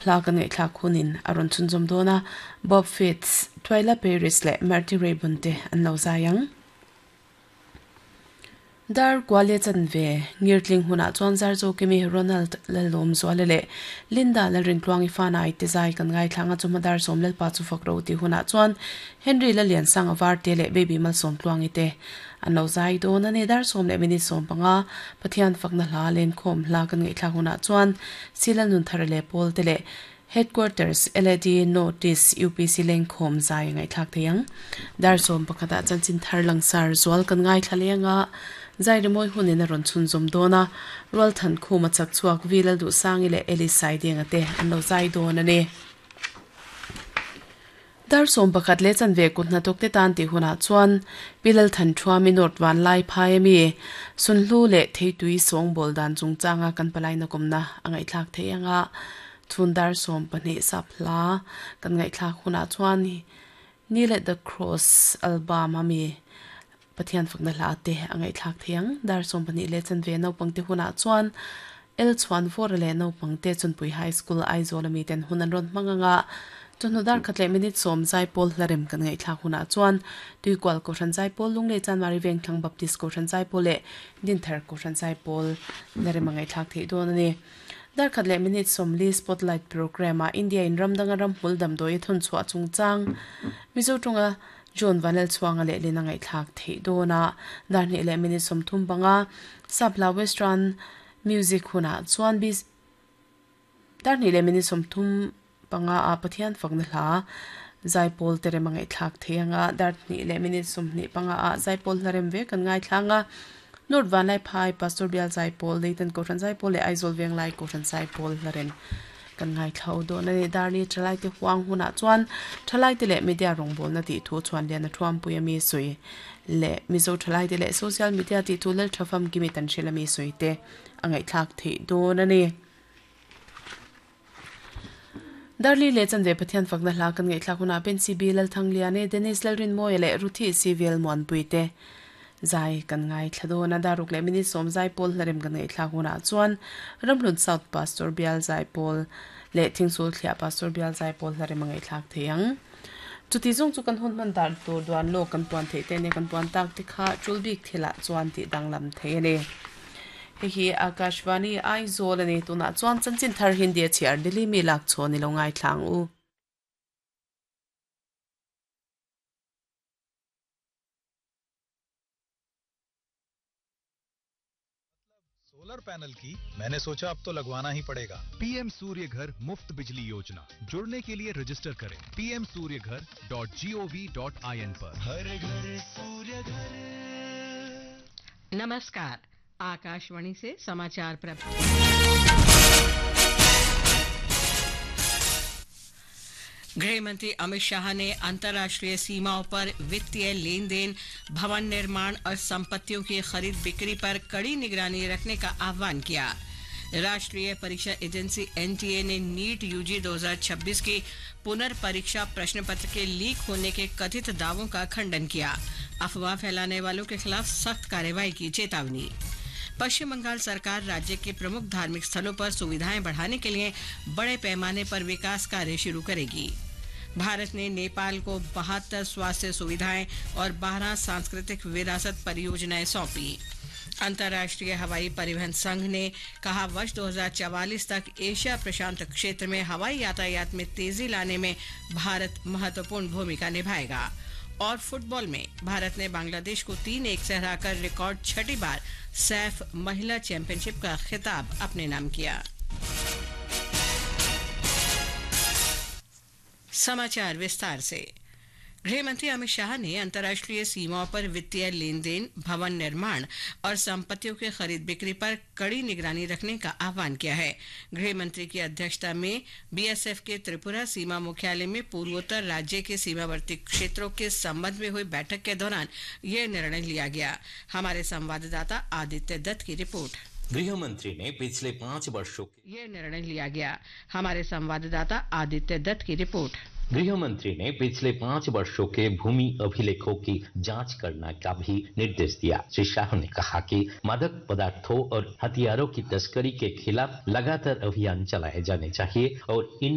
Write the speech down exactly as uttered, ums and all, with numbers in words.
Hla kan ngaihthlak hunin a rawn chhunzawm dawn a, Bob Fitts, Twyla Paris leh Marty Raybon te an lo zai ang. Dar Kuale chanve ngirtling hunah chuan Zarzo Kimi Ronald Lalawm Zuala leh Linda Lalrintluangi fanai te zai kan ngaithlang a chuma dar sawm lalpa chu fak ro ti hunah chuan Henry Laliansanga Varte leh Baby Malsawmtluangi te an lo zai dawn a ni. Dar sawm leh minute sawm panga Pathian fakna hla len khawm hla kan ngaihthlak hunah chuan Sila Nunthar leh Pawl te leh Headquarters L A D Notice U P C leng khawm zai ngaihthlak theiang. Dar sawm pakhata chanchin thar langsar zual kan ngaithla lenga zai rimoi hunin a rawn chhunzawm dawn a, rual than khum a chak chhuak vilal du sangi leh Eli sai denga te an lo zai dawn a ni. Dar sawm pakhat le chanve kut hnathawk te tan tih hunah chuan Pilal than thuami North Van Lai phai ami sunhlu leh theitui sawng bawl dan chungchanga kan palai na kawmna a ngaihthlak thei anga chhun dar sawm pahnih sap hla kan ngaihthlak hunah chuan Kneel at the Cross album ami Pathian fakna hla te a ngaihthlak thei ang. Dar sawm pahnih leh chanve naupang te hunah chuan El chuan vor leh naupang te Chunpui High School Aizawl ami ten hun an rawn hmang anga chawhnu dar khat leh minute sawm zaipawl hlarem kan ngaihthlak hunah chuan Tuikual Kohhran Zaipawl, Lunglei Chanmari Vengthlang Baptist Kohhran Zaipawl leh Dinthar Kohhran Zaipawl hlarem a ngaihthlak theih dawn a ni. Dar khat leh minute sawm li Spotlight program a India in ramdanga ramhmul damdawi a thawn chhuah chungchang Mizo tawnga John Vanel chhuanga leh lin a ngaihthlak theih dawn a. Dar hnih leh minute sawm thum panga Sapla Western Music hunah chuan bis dar hnih leh minute sawm thum panga a Pathian fakna hla zaipawl te rem a ngaihthlak thei anga dar hnih leh minute sawm hnih panga a zaipawl hlarem ve kan ngaithlanga North Vanlai Phai Pastor Bial Zaipawl, Leitan Kohhran Zaipawl leh Aizawl Venglai Kohhran Zaipawl hlarem kan ngaithlau dawn a ni. Dar li thalai te huang hunah chuan thalai te leh media rawngbawlna tih thu chuan lian a thuampui ami sawi leh Mizo thalai te leh social media tih thu lal thafam kimi tan hrel ami sawi te a ngaihthlak theih dawn a ni. Darli leh chanve Pathian fakna hla kan ngaihthlak hunah Ben C B Lalthangliane, Dennis Lalrinmawia leh Ruthi Civil Muanpui te zai kan ngaithla dawn a. Daruk leh minute sawm zaipawl hlarem kan ngaihthlak hunah chuan Ramhlun South Pastor Bial Zaipawl leh Thingsul Thliah Pastor Bial Zaipawl hlarem a ngaihthlak thei ang. Chuti zawng chu kan hun hman dan tur duan lawk kan puan theih te nia kan puan tak te kha tul bik thilah chuan tih danglam thei a ni. Hei hi Akashvani Aizawl a ni. Tunah chuan chanchin thar Hindi a chhiar Delhi mi lak chhawn i lo ngaithlang u. Solar panel की मैंने सोचा अब तो लगवाना ही पड़ेगा। पीएम सूर्य घर मुफ्त बिजली योजना, जुड़ने के लिए रजिस्टर करें P M Surya Ghar dot G O V dot I N पर। हर घर सूर्य घर। नमस्कार, आकाशवाणी से समाचार प्राप्त। गृह मंत्री अमित शाह ने अंतर्राष्ट्रीय सीमाओं पर वित्तीय लेन then, भवन निर्माण और संपत्तियों की खरीद बिक्री पर कड़ी निगरानी रखने का आह्वान किया। राष्ट्रीय परीक्षा agency N T A ने नीट यूजी दो हज़ार छब्बीस की पुनर्परीक्षा प्रश्न पत्र के लीक होने के कथित दावों का खंडन किया। अफवाह फैलाने वालों के खिलाफ सख्त कार्रवाई की चेतावनी। पश्चिम बंगाल सरकार राज्य के प्रमुख धार्मिक स्थलों पर सुविधाएं बढ़ाने के लिए बड़े पैमाने पर विकास कार्य शुरू करेगी। भारत ने नेपाल को बहत्तर स्वास्थ्य सुविधाएं और बारह सांस्कृतिक विरासत परियोजनाएं सौंपी। अंतर्राष्ट्रीय हवाई परिवहन संघ ने कहा, वर्ष दो हज़ार चवालीस तक एशिया प्रशांत क्षेत्र में हवाई यातायात में तेजी लाने में भारत महत्वपूर्ण भूमिका निभाएगा। और फुटबॉल में भारत ने बांग्लादेश को तीन एक से हराकर रिकॉर्ड छठी बार सैफ महिला चैंपियनशिप का खिताब अपने नाम किया। समाचार विस्तार से। गृह मंत्री अमित शाह ने अंतर्राष्ट्रीय सीमाओं पर वित्तीय लेन then, भवन निर्माण और संपत्तियों की खरीद बिक्री पर कड़ी निगरानी रखने का आह्वान किया है। गृह मंत्री की अध्यक्षता में B S F के त्रिपुरा सीमा मुख्यालय में पूर्वोत्तर राज्य के सीमावर्ती क्षेत्रों के संबंध में हुई बैठक के दौरान यह निर्णय लिया गया। हमारे संवाददाता आदित्य दत्त की रिपोर्ट। गृह मंत्री ने पिछले पांच वर्षों के यह निर्णय लिया गया। हमारे संवाददाता आदित्य दत्त की रिपोर्ट। गृह मंत्री ने पिछले पांच वर्षों के भूमि अभिलेखों की जांच करने का भी निर्देश दिया। श्री शाह ने कहा कि मादक पदार्थों और हथियारों की तस्करी के खिलाफ लगातार अभियान चलाए जाने चाहिए और इन